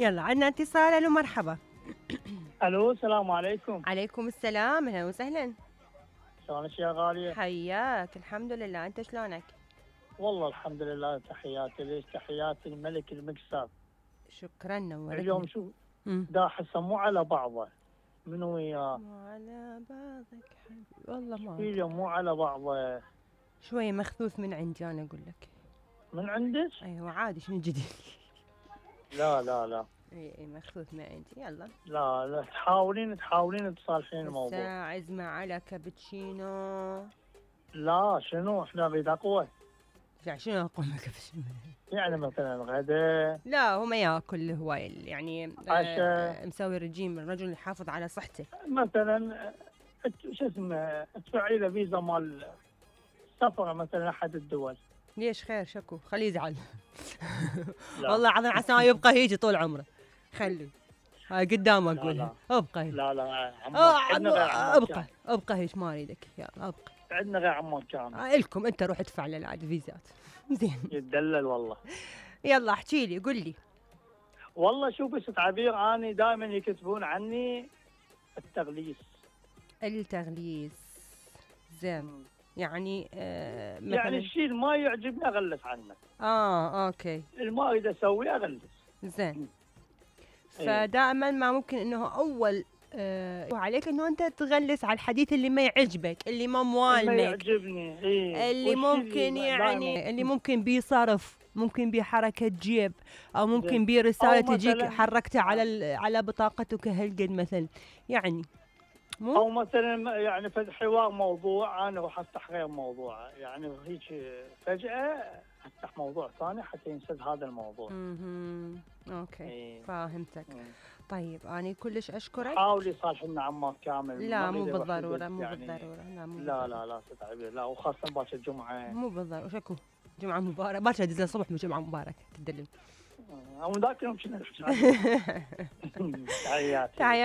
يلا عندنا اتصال. الو مرحبا. الو السلام عليكم. عليكم السلام، اهلا وسهلا. شلونك يا غالية؟ حياك، الحمد لله، انت شلونك؟ والله الحمد لله، تحياتي ليش، تحياتي الملك المكسر. شكرا، نورتني. اليوم شو دا حسه مو على بعضه، منو وياه؟ مو على بعضك حبيبي والله ما اليوم مو على بعضه. شوية مخذوث من عندي انا اقول لك. من عندك؟ ايوه عادي، شنو الجديد؟ لا لا لا اي مخذوث من عندي. يلا لا لا، تحاولين تصالحين الموضوع. الساعة عزمة على كابتشينو. لا شنو، احنا نريد اقوى. يعني شنو اقول لك كابتشينو؟ يعني مثلا غدا. لا هو ما ياكل هواي يعني. عشاء. مسوي رجيم، الرجل يحافظ على صحته. مثلا شو اسمه، تدفعي له فيزا مال سفر مثلا احد الدول. ليش؟ خير، شكو، خليه يزعل. والله العظيم عسى ما يبقى هيجي طول عمره. خليه هاي قدامك اقولها. ابقى هيك. لا لا ابقى هيك، ما اريدك. يلا ابقى. عندنا غير عمان كامل. الكم انت روح ادفع له العاد فيزات. زين يتدلل والله. يلا احكي لي، قل لي. والله شوف بس تعبير، اني دائما يكتبون عني التغليس. زين. يعني مثلا يعني الشيء اللي ما يعجبني اغلس عنه. اوكي. اللي ما اريد اسويه اغلس. زين. فدائما ما ممكن انه اول عليك انه انت تغلس على الحديث اللي ما يعجبك، اللي ما موالمك، ما يعجبني. اللي ممكن يعني اللي ممكن بيه صرف، ممكن بيه حركة جيب، او ممكن بيه رسالة تجيك حركتها على بطاقتك هالقد مثلا. يعني او مثلا يعني حوار موضوع انا راح افتح غير موضوع، يعني هيك فجأة افتح موضوع ثاني حتى ينسد هذا الموضوع. اوكي. فهمتك. طيب انا كلش اشكرك. حاولي صالحنا عمار كامل. لا مو بالضروره، مو بالضروره. لا تتعبي، لا وخاصه باكر الجمعه. مو بالضروره. شكو جمعه مباركه، باكر ادز الصبح من جمعه مباركه تدلل. او ذاك يوم كنا. تحياتي.